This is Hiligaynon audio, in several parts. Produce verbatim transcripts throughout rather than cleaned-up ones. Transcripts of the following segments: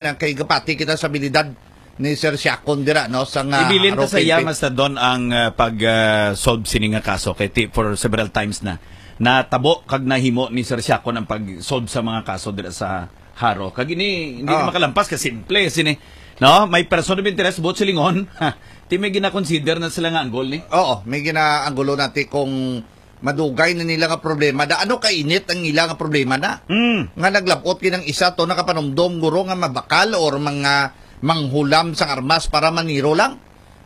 Nang kay gapati kita sa abilidad ni Sir Siakon dira, no, sa nga Ibilin ta Haro sa iya P N P. Nga sa don ang, ah, pag, ah, solve sini nga kaso kay ti-, for several times na natabo kag nahimo ni Sir Siakon ang pag-solve sa mga kaso dira sa Haro. Kag ini, hindi Ah. na makalampas kay simple sini, no? May person of interest, buot silingon. Ti may gina-consider na sila nga anggol ni. Oo, may ginaanggulo natin kung madugay na nila nga problema. Da, ano kainit ang ila nga problema na? Mm. Nga naglabot kinang isa to nakapanumdom guro nga mabakal or mga manghulam sang armas para maniro lang.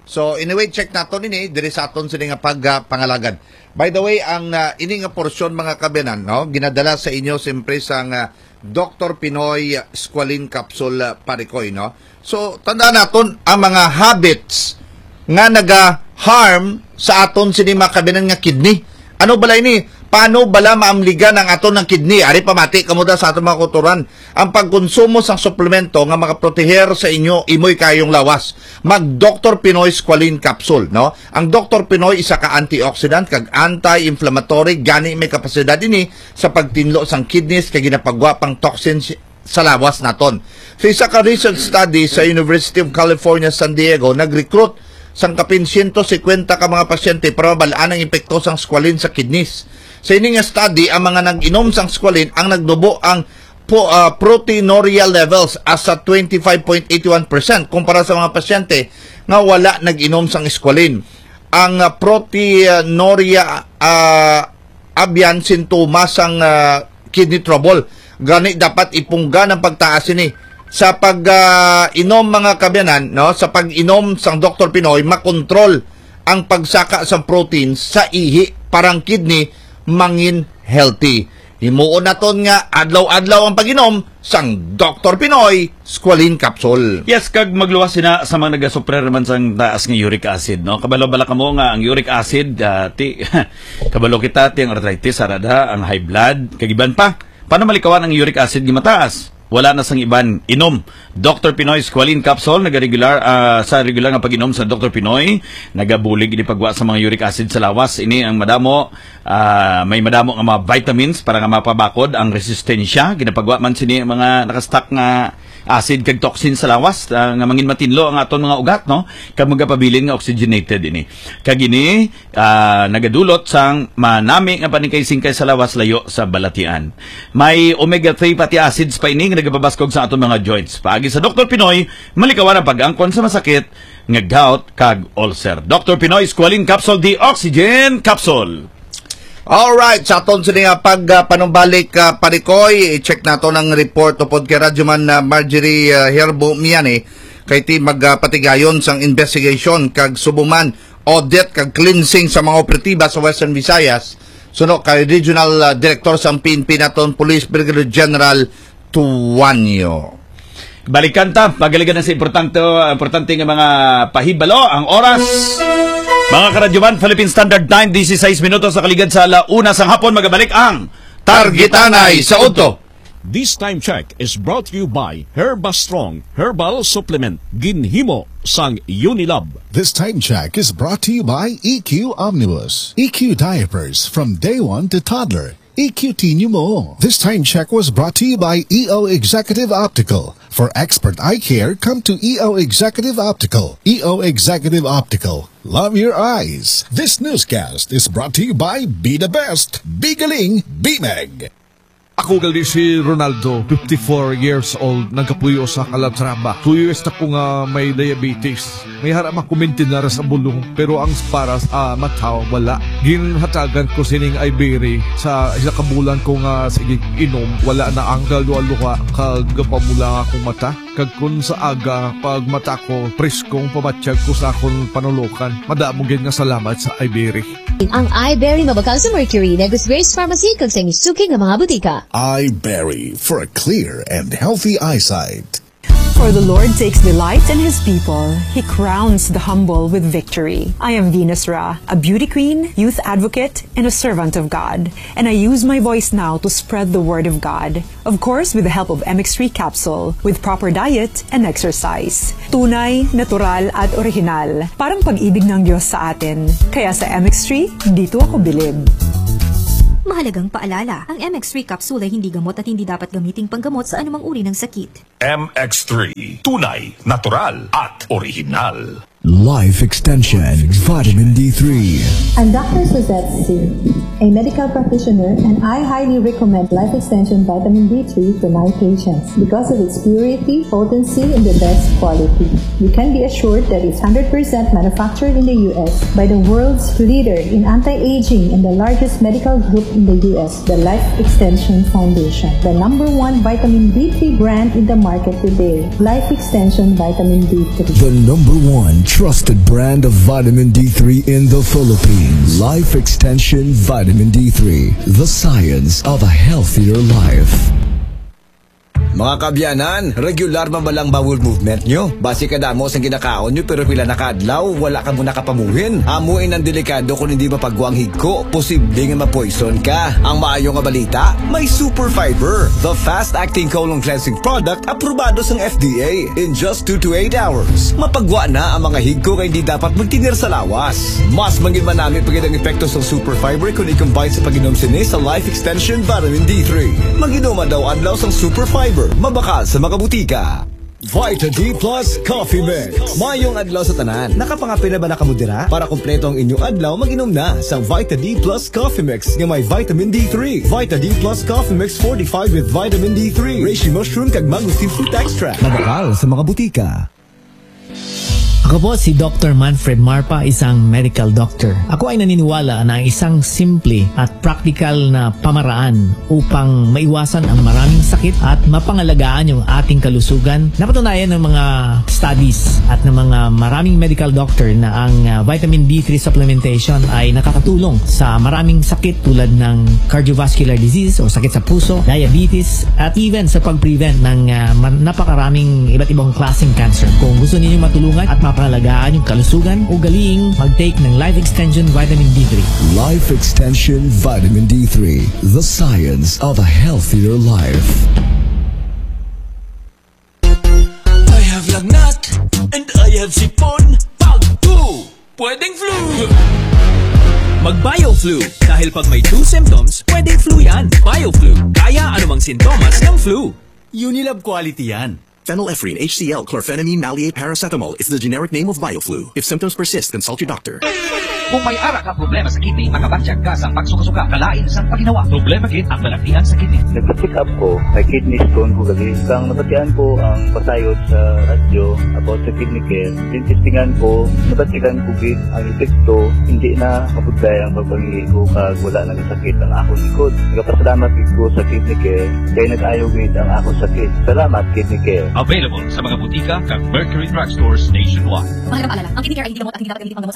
So, anyway, check nato nini diri sa aton sini nga pagpangalagad. By the way, ang, ah, ini nga porsyon, mga kabiyanan, no, ginadala sa inyo siyempre sang, ah, Doctor Pinoy Squalene Capsule, ah, Parikoy, no? So, tandaan naton ang mga habits nga naga-harm sa aton sini mga kabiyanan nga kidney. Ano bala ini? Paano bala maamligan ang aton nga kidney? Ari, pamati kamo da sa aton mga kautoran. Ang pagkonsumo sang suplemento nga makaproteher sa inyo imoy kayong lawas, mag Doctor Pinoy Squalene Capsule, no? Ang Doctor Pinoy isa ka antioxidant kag anti-inflammatory, gani may kapasidad ini sa pagtinlo sang kidneys kay ginapagwa pang toxins sa lawas naton. Sa isa ka research study sa University of California, San Diego, nag-recruit sang kapin siyento singkwenta ka mga pasyente para mabal-an ang epekto sang squalene sa kidneys. Sa ini nga study, ang mga nag-inom sang squalene ang nagnubo ang po, ah, proteinuria levels as sa twenty-five point eight one percent kumpara sa mga pasyente nga wala nag-inom sang squalene. Ang, ah, proteinuria, ah, abyan sintomas sang, ah, kidney trouble. Gani dapat ipunggan ang pagtaas ini. Sa pag, ah, inom, mga kabiyanan, no, sa pag-inom sang Doktor Pinoy, makontrol ang pagsaka sang protein sa ihi para ang kidney mangin healthy. Himuon naton nga adlaw-adlaw ang pag-inom sang Doktor Pinoy Squalene Capsule. Yes, kag magluwas sina sa mga nagasuffer naman sang taas nga uric acid, no? Kabalo bala kamo nga ang uric acid, ah, ti-, kabalo kita, ti ang arthritis, arada, ang high blood, kag iban pa. Paano malikawan ang uric acid nga mataas? Wala na sang iban, inom Doktor Pinoy Squalene Capsule, nagaregular, ah, sa regular nga pag-inom sa Doktor Pinoy, nagabulig ini pagwa sa mga uric acid sa lawas. Ini ang madamo, ah, may madamo nga mga vitamins para nga mapabakod ang resistensya. Ginapagwa man sini ang mga nakastock nga acid kag toxin sa lawas, ah, nga mangin matinlo ang aton mga ugat, no? Kag magapabilin nga oxygenated ini. Kag ini, ah, nagadulot sang manami nga paningkay-singkay sa lawas layo sa balatian. May omega three fatty acids pa ini nga nagapabaskog sa aton mga joints. Paagi sa Doktor Pinoy, malikawan ang pag-angkon sa masakit nga gout kag ulcer. Doktor Pinoy Squalene Capsule, the Oxygen Capsule. Alright, sa aton sini nga pag, ah, panumbalik, ah, Parikoy, i-check nato ang report upod kay Radyoman, ah, Marjorie, ah, Herbo Miani, kay ti magpatigayon sang investigation kag subo man audit kag cleansing sa mga operatiba sa Western Visayas, suno kay Regional, ah, Director sang P N P naton, Police Brigadier General Tuanyo. Balikan ta, pagaligan na sa importante, importante nga mga pahibalo, ang oras. Mga karadyoman, Philippine Standard Time, dieciséis minutos sa kaligad sa ala una sang hapon, magabalik ang Targitanay sa Udto. This time check is brought to you by Herba Strong Herbal Supplement, ginhimo sang Unilab. This time check is brought to you by E Q Omnibus, E Q diapers from day one to toddler, E Q T New Mo. This time check was brought to you by E O Executive Optical. For expert eye care, come to E O Executive Optical. E O Executive Optical. Love your eyes. This newscast is brought to you by Be the Best. Be Galing, Be Meg. Ako gali si Ronaldo, fifty-four years old, nagapuyo sa Calatrava. Two years na ko nga may diabetes. May hara makuminti na ra sa bulong, pero ang para sa mata, wala. Ginhatagan ko sining Iberry sa isa ka bulan ko nga sige inom. Wala na ang kaluha-luha, kag pamula akong mata. Kag kun sa aga, pag mata ko, preskong pamatyag ko sa akon panulokan. Madamo gid nga salamat sa Iberry. Ang Iberry mabakal sa Mercury, Negros Grace Pharmacy, kag sa inyo suki nga mga butika. Iberry for a clear and healthy eyesight. For the Lord takes delight in his people. He crowns the humble with victory. I am Venus Ra, a beauty queen, youth advocate, and a servant of God. And I use my voice now to spread the word of God. Of course, with the help of M X three capsule, with proper diet and exercise. Tunay, natural, at original. Parang pag-ibig ng Diyos sa atin. Kaya sa M X three, dito ako bilib. Mahalagang paalala, ang M X three capsule ay hindi gamot at hindi dapat gamiting panggamot sa anumang uri ng sakit. M X three, tunay, natural, at original. Life Extension Vitamin D three. I'm Doctor Suzette Singh, a medical practitioner, and I highly recommend Life Extension Vitamin D three to my patients because of its purity, potency, and the best quality. You can be assured that it's hundred percent manufactured in the U S by the world's leader in anti-aging and the largest medical group in the U S, the Life Extension Foundation, the number one vitamin D three brand in the market today. Life Extension Vitamin D three. The number one trusted brand of vitamin D three in the Philippines. Life Extension Vitamin D three, the science of a healthier life. Mga kabyanan, regular man ba lang bowel movement nyo? Basi kadamo sang ginakaon nyo pero pila na ka adlaw, wala ka mo nakapamuhin. Amo in ang delikado kung hindi mapagwa ang higko. Posible nga ma-poison ka. Ang maayo nga balita, may Super Fiber, the fast-acting colon cleansing product aprobado sang F D A. In just two to eight hours, mapagwa na ang mga higko nga hindi dapat magtener sa lawas. Mas manginmanami pa gid ang epekto sang Super Fiber kung i-combine sa pag-inom sini sa Life Extension Vitamin D three. Mag-inom adlaw-adlaw sang Super Fiber, mabakal sa mga butika. Vita D Plus Coffee Mix. Mayong adlaw sa tanan. Nakapangape na ba na kamo dira? Para kompleto ang inyong adlaw, mag-inom na sang Vita D Plus Coffee Mix nga may vitamin D three. Vita D Plus Coffee Mix fortified with vitamin D three, reishi mushroom kag mangosteen fruit extract. Mabakal sa mga butika. Ako po si Doctor Manfred Marpa, isang medical doctor. Ako ay naniniwala na ang isang simple at praktikal na pamaraan upang maiwasan ang maraming sakit at mapangalagaan yung ating kalusugan. Napatunayan ng mga studies at ng mga maraming medical doctor na ang, ah, vitamin D three supplementation ay nakakatulong sa maraming sakit tulad ng cardiovascular disease o sakit sa puso, diabetes, at even sa pag-prevent ng, ah, ma-, napakaraming iba't ibang klaseng cancer. Kung gusto ninyo matulungan at mapangalagaan yung kalusugan, ugaliing mag-take ng Life Extension Vitamin D three. Life Extension Vitamin D three, the science of a healthier life. I have lagnat and I have sipon. Pag two, pwedeng flu. Mag-BioFlu, dahil pag may two symptoms, pwedeng flu yan. BioFlu, kaya anumang sintomas ng flu. Unilab quality yan. Phenylephrine H C L, chlorphenamine maleate paracetamol is the generic name of BioFlu. If symptoms persist, consult your doctor. Kung may ara ka problema sa kidney, makabatyag ka sa pagsuka-suka, kalain sang paginawa. Problema gid ang balaktian sa kidney. Nagpa-check up ko, may kidney stone ko gali. Kang nabatian ko ang pasayod sa radyo about sa kidney care, tinistingan ko, nabatian ko gid ang epekto, hindi na mabudlay ang pagpangihi ko kag wala na sakit ang akong likod. Nagapasalamat gid ko sa Kidney Care kay nag-ayo gid ang akong sakit. Salamat, Kidney Care. Available sa mga butika kag Mercury Drug Stores nationwide. Mahalagang paalala, ang Kidney Care ay hindi gamot at hindi dapat gamitin pang